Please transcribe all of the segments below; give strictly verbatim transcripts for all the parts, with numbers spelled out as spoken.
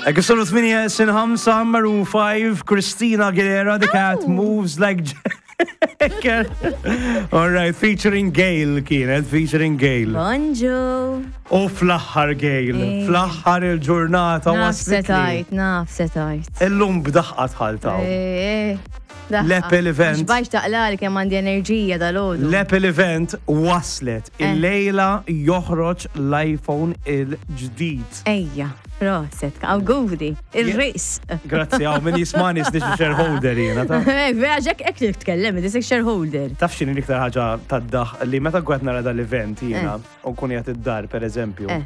Hekk sonu tmienja sin ħamsa, Maroon five, Christina Aguilera, "The Cat Moves Like Jagger". All right, featuring Gail kienet, featuring Gail. Bonġu. U fl-aħħar, Gail, Ej. fl-aħħar il-ġurnata Naf waslitli. setajt, naf setajt. Illum b'daħqa tħaltaw. Eh, L-Apple event. Bajx taqla li kemm għandi enerġija dal-għodu. L-Apple event waslet. Eh. Il-lejla joħroġ l-iPhone il-ġdid. Ejja, proset, awguri, il-ris. Grazzi, għaw, min jismani snixi shareholder jena, ta' Eh, vera, ġek ek titkellem, disek shareholder. Taf x'inhi l-iktar ħaġa tad-daħ li meta gwet nara dal-event jiena u nkun qiegħed id-dar, per eżempju? Eh.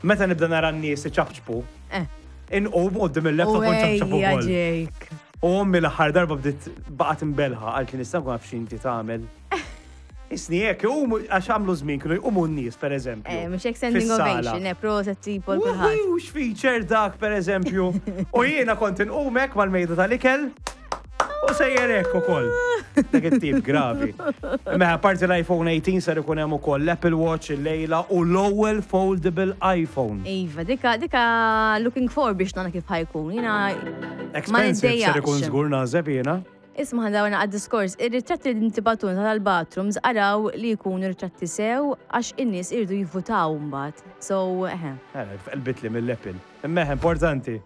Meta nibda nara n-nies iċapċpu, Eh. inqum quddiem il-laptop u nċapċap Ejja, ukoll. Jake. U ommi l-aħħar darba bdiet baqgħet imbelħa, għalt li nista' nkun naf x'inti tagħmel. Isni hekk, iqumu, għax għamlu żmien kienu jqumu n-nies, per eżempju. Eh, mhux hekk standing fis-sala. ovation, eh, proset tipo l-kulħadd. Wuhu, x'feature dak, per eżempju. U jiena kont inqumek mal-mejda tal-ikel u sejjer hekk ukoll. Dak it-tip gravi. Mela, parti l-iPhone eighteen ser ikun hemm ukoll l-Apple Watch il-lejla u l-ewwel foldable iPhone. Iva, dika, dika looking for biex nara kif ħa jkun. Jiena, Expensive ser ikun niddejjaqx. żgur, naħseb jiena. Isma', ħandawna għad-diskors, ir-ritratti li ntibatun tal-bathrooms, araw li jkunu ritratti sew għax in-nies irdu jivvutaw mbagħad. So, eħe. Eh, Qelbitli mill-Apple. Imma importanti.